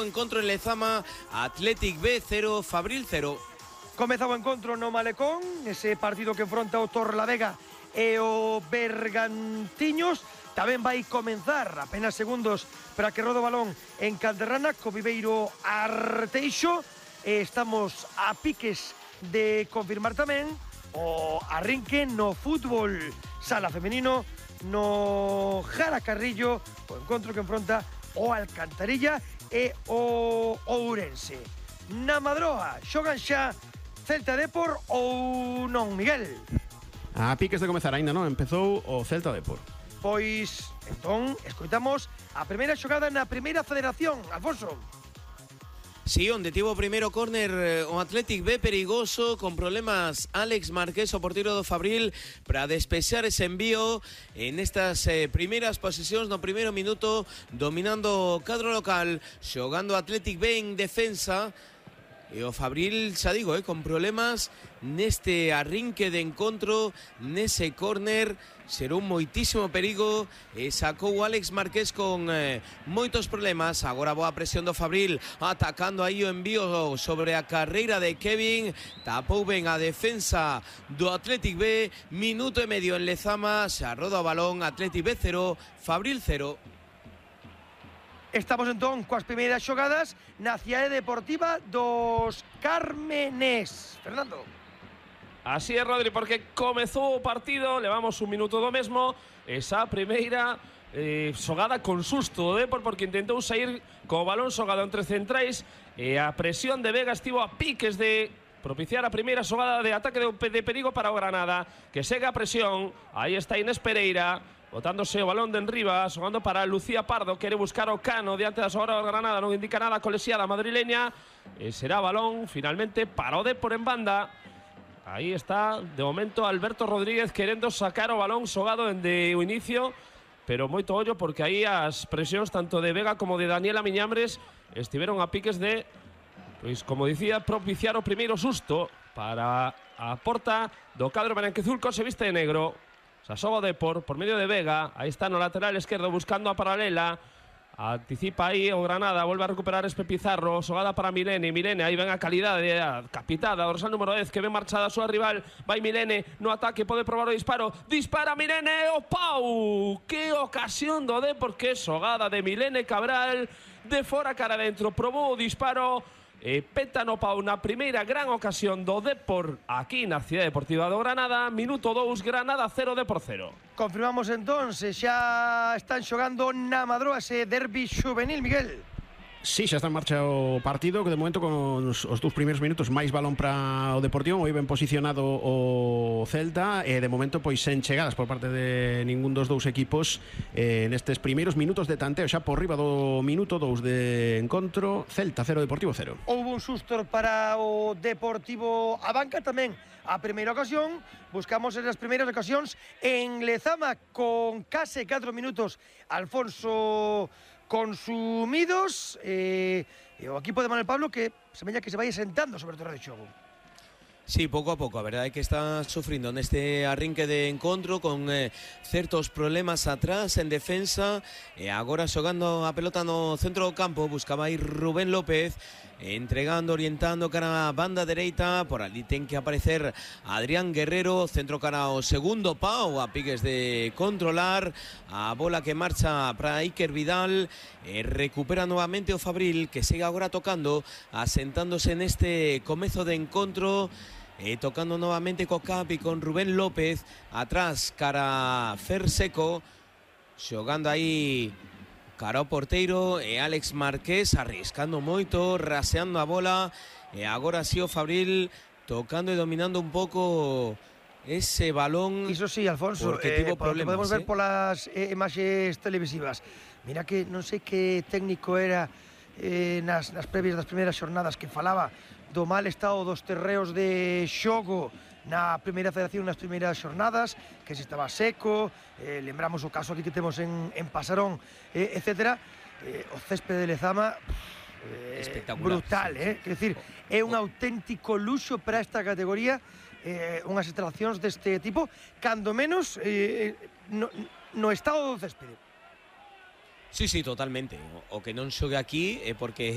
o encontro en Lezama, Athletic B 0, Fabril 0. Comezaba o encontro no Malecón, ese partido que enfronta o Torrelavega e o Bergantiños. Tamén vai comenzar apenas segundos para que rode o balón en Calderrana co Viveiro Arteixo. Estamos a piques de confirmar tamén o arrinque no fútbol sala femenino no Jara Carrillo, o encontro que enfronta o Alcantarilla e o Ourense. Na Madroa xogan xa Celta Depor ou non, Miguel? A piques de comezar aínda non empezou o Celta Depor. Pois, entón, escoitamos a primeira xogada na primeira federación, Alfonso. Sí, onde tivo o primeiro córner o Athletic B, perigoso, con problemas Alex Marqués, o porteiro do Fabril, para despexar ese envío en estas primeiras posesións no primeiro minuto, dominando o cadro local, xogando Athletic B en defensa. E o Fabril, xa digo, con problemas neste arrinque de encontro, nese córner, xerou moitísimo perigo e sacou o Alex Marqués con moitos problemas. Agora boa presión do Fabril, atacando aí o envío sobre a carreira de Kevin, tapou ben a defensa do Athletic B, minuto e medio en Lezama, xa roda o balón, Athletic B 0, Fabril 0. Estamos entón coas primeiras xogadas na cidade deportiva dos Cármenes. Fernando. Así é, Rodri, porque comezou o partido, levamos un minuto do mesmo, esa primeira xogada con susto do Depor, porque intentou sair co balón xogado entre centrais e a presión de Vega estivo a piques de propiciar a primeira xogada de ataque de perigo para o Granada, que segue a presión. Aí está Inés Pereira, botándose o balón de enriba, xogando para Lucía Pardo, quere buscar o Cano diante da xogada do Granada, non indica nada colesiada madrileña, e será balón finalmente para o Depor en banda. Aí está, de momento, Alberto Rodríguez querendo sacar o balón xogado dende o inicio, pero moito ollo porque aí as presións tanto de Vega como de Daniela Miñambres estiveron a piques de, pois como dicía, propiciar o primeiro susto para a porta do cadro branquizulco, se viste de negro. Sasoba o Depor por medio de Vega, aí está no lateral esquerdo buscando a paralela, anticipa aí o Granada, volve a recuperar Espe Pizarro, xogada para Milene, aí ven a calidade, a capitada, dorsal número 10, que ven marchada a súa rival, vai Milene no ataque, pode probar o disparo, dispara Milene, o pau, que ocasión do Depor, que xogada de Milene Cabral, de fora cara dentro, probou o disparo, e peta no pau na primeira gran ocasión do Depor aquí na Cidade Deportiva do Granada. Minuto 2, Granada 0, Depor 0. Confirmamos entón, xa están xogando na Madroa ese derbi juvenil, Miguel. Sí, xa está en marcha o partido, que de momento con os dous primeiros minutos máis balón para o Deportivo, moi ben posicionado o Celta, e de momento pois sen chegadas por parte de ningún dos dous equipos nestes primeiros minutos de tanteo, xa por riba do minuto 2 de encontro. Celta 0, Deportivo 0. Houve un susto para o Deportivo a banca tamén. A primeira ocasión, buscamos as primeiras ocasións en Lezama con case 4 minutos. Alfonso consumidos, e o equipo de Manuel Pablo que semella que se vai sentando sobre o terreno de xogo. Sí, pouco a pouco, a verdade é que está sufrindo neste arrinque de encontro con certos problemas atrás en defensa, e agora xogando a pelota no centro do campo, buscaba aí Rubén López, entregando, orientando cara a banda dereita, por ali ten que aparecer Adrián Guerrero, centro cara ao segundo pau, a piques de controlar, a bola que marcha para Iker Vidal, recupera novamente o Fabril, que segue agora tocando, asentándose neste comezo de encontro, tocando novamente co Capi con Rubén López, atrás cara Fer Seco, xogando aí cara ao porteiro, e Alex Marqués arriscando moito, raseando a bola, e agora sí o Fabril tocando e dominando un pouco ese balón. Iso sí, Alfonso, porque tivo problemas, podemos ver polas imaxes televisivas. Mira que non sei que técnico era nas previas das primeiras xornadas, que falaba do mal estado dos terreos de xogo na primeira federación, nas primeiras xornadas, que se estaba seco, lembramos o caso aquí que temos en Pasarón, etcétera. O céspede de Lezama, brutal, quer decir, é un auténtico luxo para esta categoría, unhas instalacións deste tipo, cando menos no estado do céspede. Sí, totalmente. O que non xogue aquí é porque